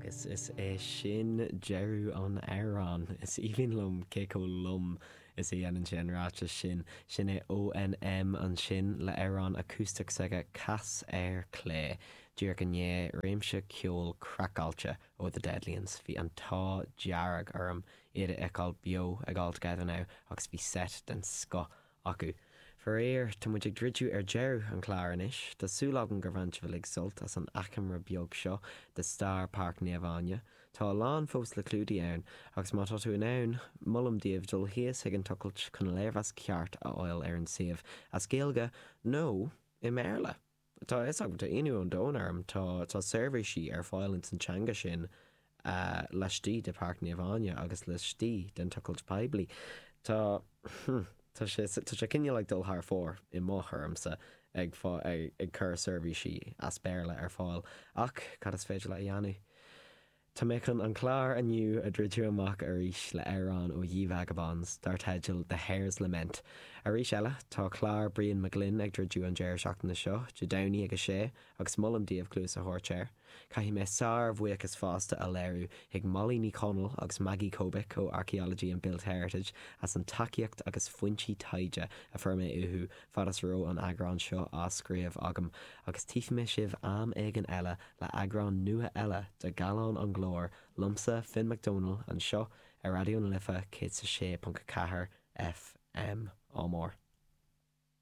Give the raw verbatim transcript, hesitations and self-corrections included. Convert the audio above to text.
Agus is é sin deireadh an amhráin. Is aoibhinn liom cé chomh lom is a dhéanann sé an ráiteas sin. Sin é ONM ansin le amhrán acústach s'aige Cas ar Clé. Díreach i ndiaidh réimse ceoil craiceáilte ó The Deadlions. Bhí an t-ádh dearg orm iad a fheiceáil beo ag All Together Now agus bhí set den scoth acu. Faraor, tá muid ag druidim ar deireadh an chláir anois, Tá súil agam gur bhain sibh uilig sult as an achoimre beag seo de stair Páirc Naomh Áine. Tá a lán fós le clúdach ann, agus má tá tú in ann, molaim daoibh dul thíos ag an tochailt chun léirmheas ceart a fháil ar an suíomh as Gaeilge nó i mBéarla. Tá is agam tá ionadh an domhain orm tá tá seirbhísí ar fáil ins an teanga sin uh, laistigh de Páirc Naomh Áine agus laistigh den tochailt poiblí. Tá hm, Tá sé tá sé cineál ag dul thar fóir i mo thuairimse ag ag, ag cur seirbhísí as Béarla ar fáil ach cad is féidir le a dhéanamh. Tá mé chun an clár inniu a dhruidim amach arís le amhrán ó Ye Vagabonds dar teideal The Hare's Lament. Arís eile tá clár Brian McGlynn ag druidim an deireadh seachtaine seo, Dé Domhnaigh ag a sé agus molaim daoibh cluas a thabhairt air. Caithfidh mé sár-bhuíochas fosta a léiriú chuig Molly Ní Chonaill agus Maggie Kobick ó Archaeology and Built Heritage as an tacaíocht agus foinsí taighde a fuair mé uathu fad is a raibh an eagrán seo á scríobh agam agus tífidh mé sibh am éigin eile le eagrán nua eile de Gallán an Ghlóir liomsa Finn McDonald anseo ar Raidió na Life céad sé ponc ceathair FM. Ádh mór.